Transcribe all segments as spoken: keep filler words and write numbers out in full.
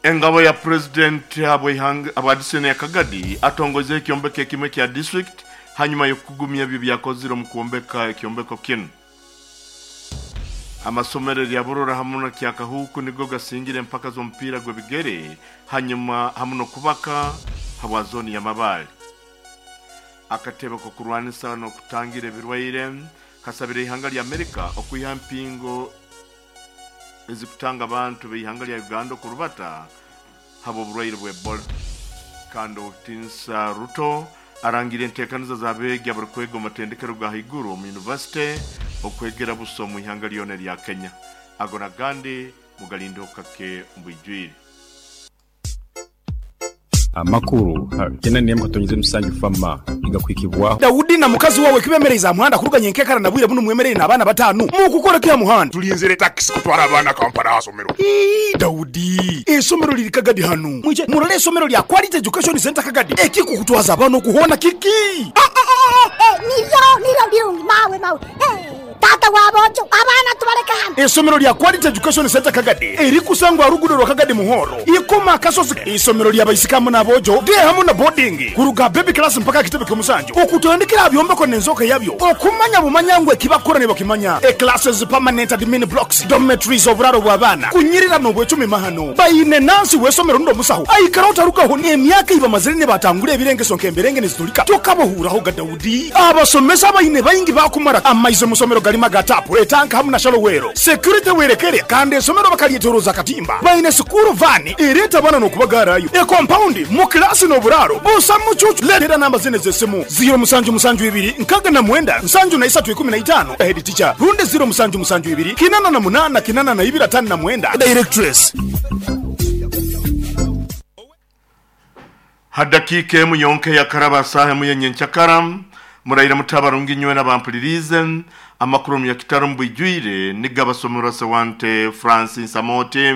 Engabo ya president abwa Disoni ya Kagadi atongoze ekyombeko ekimwe kya district hanyuma y'okugumya ebyo byakozire omu kwombeka ekyombeko kinu. Amasomero lya Burora hamu na Kyakahuku nigo gasingire empaka z'omupiira gw'ebigere hanyuma hamu n'okubaka habwa zoni ya Mabale. Akatebe k'okurwanisa n'okutangira ebirwaire kasabire ihanga lya Amerika okwiha empingo ezikutanga abantu b'ihanga lya Uganda okurubata habw'oburwaire bwa Ebola. Kandi Otinsa Ruto arangira enteekaniza z'abeegi abarikwega omu matendekero ga haiguru omu yunivasite okwegera busa omu ihanga lyona erya Kenya. Ago nagandi mugalindeho kake mbwijwire. Amakuru kena nemu katonyize musanju fama igakwikibwaho. Daudi na mukazi wawe kibemereza muhanda kuruganya enkekara na bwire buno mwemerere n'abaana batanu mukukora kya muhanda. Tulinzire takisi kutwara abaana Kampala asomero. Ii, Daudi, esomero liri Kagadi hanu, mwije murole esomero lya Quality Education Center Kagadi. Ekikukutwaza abaana okuhona kiki? Niryo niryo birungi mawe mawe. Eh, tata wabojo abaana tubaleka hano. Esomero lya Quality Education Center Kagadi erikusangwa rugudo rwa Kagadi Muhoro ikoma akasozi. Isomero lya baisikamu n'abojo de hamu na boarding kuruga baby class mpaka kitebe ky'omusanju okutandikira byombeko n'enzoka yabyo okumanya bumanya ngwe kibakora ne bakimanya. E classes, permanent admin blocks, dormitories, oburaro bw'abaana kunyirira n'obwecumi mahano bayine nansi w'esomero ndo musaho aikara otarugaho emyaka ibamazire ne batangura ebirengeso nk'emberenge nezitulika tokabohuraho ga Daudi. Abasomesa bayine bayingi bakumara amaizo musomero galima gatapu etanka hamu na shalowero security werekere. Kandi esomero bakalyetoroza katimba bayine school van ereta abana n'okubagarayo e compound mu kilasi n'oburaro busa mucucu. Letera namba zine z'esimu ziro musanju musanju ibiri nkaga na mwenda nsanju na isatu ikumi na itano head teacher, runde ziro musanju musanju ibiri kinana na munana kinana na ibiri atano na mwenda directress. Hadakika emu yonke yakaraba saha emu yenyenkyakara murayira mutabarungi nywe n'abampulirize amakuru mu yakitaro mbwijwire nigabasomero sewante Francis Amote.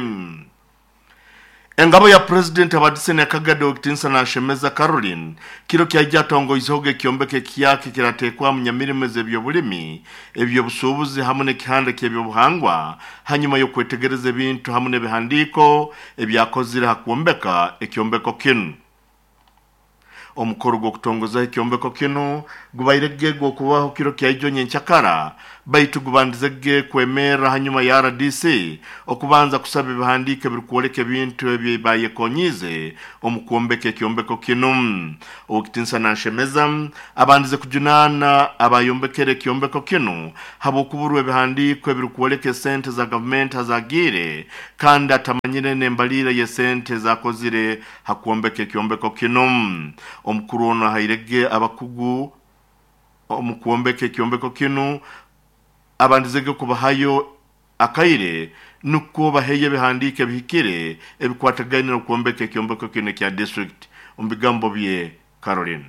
Engabo ya president abadisene Kagado Okitinsa na Shemeza Caroline kiro kyaija tongo izoge kyombeke kyake kiratekwa mu nyamirimo z'ebyobulimi, ebyobusuubuzi hamwe n'ekihanda ky'ebyobuhangwa hanyuma yo kwetegereza ebintu hamwe n'ebihandiiko ebyakozire hakwombeka ekyombeko kinu. Omukoro gw'okutongoza ekyombeko kinu gubaire gw'okubaho kiro kyaijo nyenkyakara baitu gubandize ge kwemera hanyuma ya R D C okubanza kusaba ebihandiiko ebirikwoleka ebintu ebyo bayekonyize omu kwombeka ekyombeko kinu. Okitinsa nanshemeza abandize kujunaana abayombekere ekyombeko kinu habw'okuburwa ebihandiiko ebirikwoleka esente za gavumenti azagiire kandi atamanyire n'embalire y'esente zakozire hakwombeka ekyombeko kinu. Omukuru ono ahairege abakugu omu kwombeka ekyombeko kinu abandizege kubahayo akaire nukwo baheye ebihandiiko ebihikire ebikwatagaine n'okwombeka ekyombeko kinu ekya district. Omu bigambo bye Caroline.